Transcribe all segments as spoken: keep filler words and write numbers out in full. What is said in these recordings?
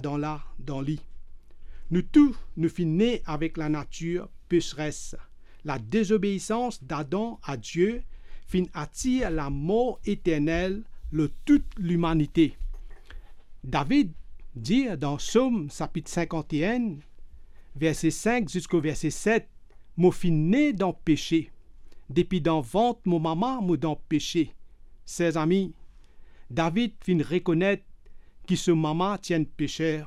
dan la, dan li. Nou tou, nou finn ne avek lanatir peseres. Ladezobeisans d'Adan a Die finn atir lamor eternel lor tou limanite. David dir dan Som sapit sinkant-e-enn, verse sink ziska verse set, "Mo finn ne dan pese. Depi dan vant mo mama, mo dan pese." Ser zami, David finn rekonet ki so mama ti enn peser.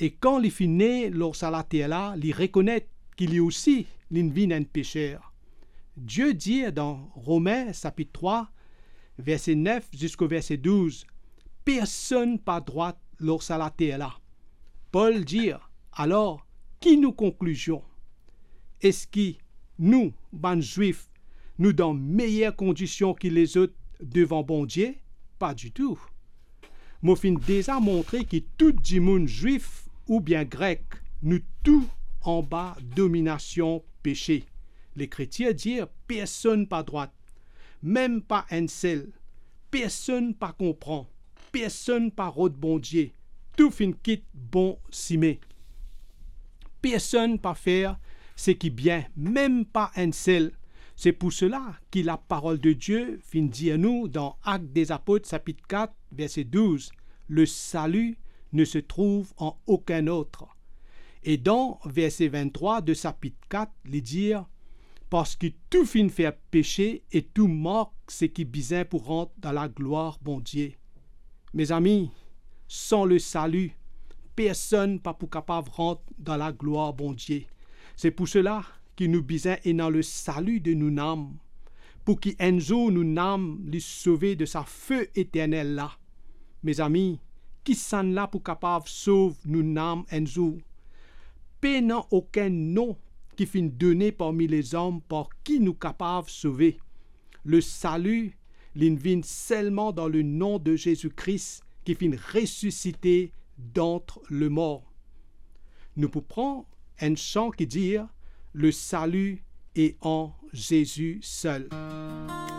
E kan li finn ne lor sa later la, li rekonet ki li osi linn vinn enn peser. Die dir dan Romin sapit trwa, verse nef ziska verse douz, "Personn pa drwat lor sa later la." Pol dir, alor, ki nou konklizion? Eski nou, bann Zwif, nou dan meyer kondision ki lezot devan Bondie? Pa ditou. Mo finn deza montre ki tou dimoun Zwif oubien Grek, nou tou anba dominasion pese. Lekritir dir, "Personn pa drwat, mem pa enn sel. Personn pa konpran, personn pa rod Bondie. Tou finn kit bon sime. Personn pa fer seki bien, mem pa enn sel." Se pou sela ki laparol de Die finn dir nou dan Actes des Apôtres sapit kat, verse douz, "Le salut ne se trouve en aucun autre." E dan verse vinn-trwa de sapit kat, li dir, "Parski tou finn fer pese e tou mank seki bizin pou rant dan laglwar Bondie." Mezami, san le sali, personn pa pou kapav rant dan laglwar Bondie. Se pou sela ki nou bizin ena le sali de nou nam, pou ki enn zour nou nam li sove de sa fe eternel la. Mezami, kisannla pou kapav sov nou nam enn zour? Pena okenn non ki finn done parmi lezom par ki nou kapav sove. Le sali, linn vinn selman dan le nom de Zezi Kris ki finn resisite dant lemor. Nou pou pran enn san ki dir, "Le salut est en Jésus seul."